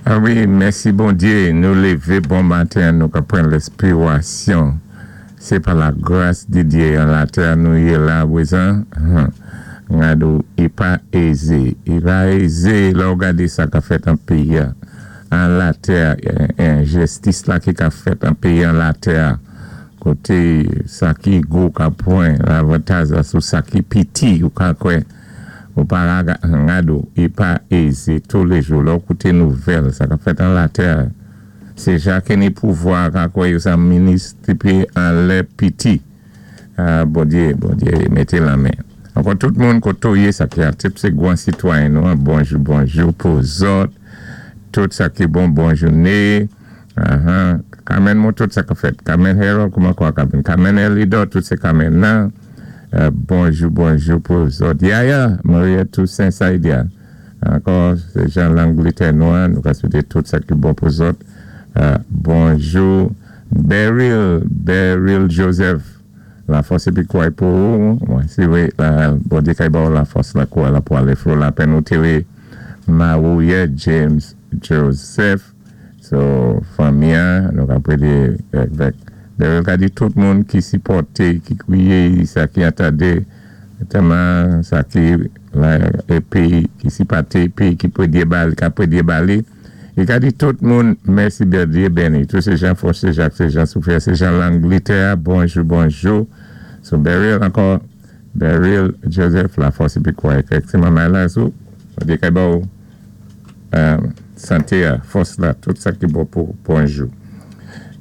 A wi, mèsi Bondyé, nou lévé bon maten, nou ka pran lèspirasyon. Sé pa la gras di Dyé an latè nou yé la pwézan. Gado, i pa ézé. I pa ézé lè ou gadé sa ka fèt an péyi an latè, enjistis la ki ka fèt an péyi an latè. Koté sa ki gwo ka pwan lavantaz la sou sa ki piti, ou ka kwè. Ou pa gado, i pa ézé touléjou. Lè ou kouté nouvèl, sa ka fèt an latè. Sé jan ki ni pouvwa ka kwè yo sa minis dépi an lè piti. Bondyé, Bondyé, mété lanmen. Ankò tout moun koté ou yé sa ki atip sé gwan sitwayen nou, bonjou, bonjou pou zòt. Tout sa ki bon, bon jouné. Carmen mou tout sa ka fèt. Carmen Harold, kouman kwa Carmen? Carmen Elidor, tout sé Carmen nan. Bonjou, bonjou pou zòt. Yaya, Maria Toussaint Saidia. Ankò, sé jan Langlétè nou, nou ka swété tout sa ki bon pou zòt. Bonjou, Beryl, Beryl Joseph. La fòs épi kouray pou ou. Mwen si wi, Bondyé kay ba ou la fòs la kouray la pou alé fò la penn ou téré Marouye James Joseph. So, fanmi an, nou ka prédé vèk Beryl ka di tout moun ki sipòté, ki kwiyé, sa ki antandé, tèlman sa ki la épi ki sipòté, épi ki prédyé ba li, ka prédyé ba li. I ka di tout moun, mèsi Bondyé béni. Tout sé jan Fòs, sé Jacques, sé jan Soufia, sé jan Langlétè, bonjou, bonjou. So Beryl ankò, Beryl Joseph, la fòs épi kouray. Kèk ti manman la sou, Bondyé kay ba ou santé, fòs la, tout sa ki bon pou bonjou.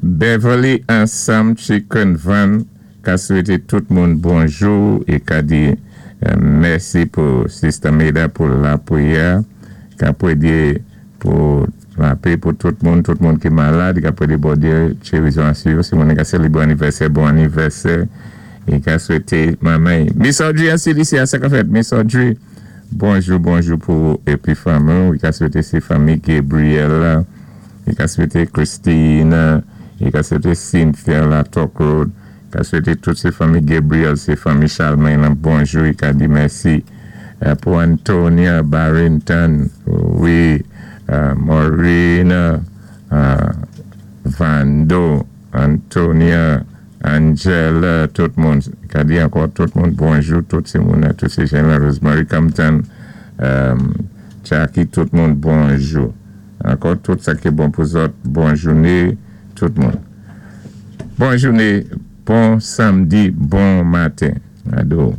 Beverly Ansam Chicken Van ka swété tout moun bonjou é ka di mèsi pou Sister Meda pou lapwiyè, ka prédyé pou lapè pou tout moun ki malad, ka prédyé Bondyé gérizon asou yo, si moun ka sélébré anivèsè, bon anivèsè, é ka swété manman. Miss Audrey an CDC, sa ka fèt, Miss Audrey, bonjou, bonjou pou épi fanmi, i ka swété sé fanmi Gabriel, i ka swété Christine, i ka swété Cynthia la Talk Road, i ka swété tout sé fanmi Gabriel, sé fanmi Charlemagne, bonjou, i ka di mèsi pou Antonia Barrington, wi, Maureen, Vando, Antonia, Angela, tout moun, ka di ankò tout moun bonjou, tout sé moun, tout sé jan Rosemary Compton, Jackie, tout moun bonjou. Ankò tout sa ki bon pou zòt, bon jouné, tout moun. Bon jouné, bon samdi, bon maten. Ado.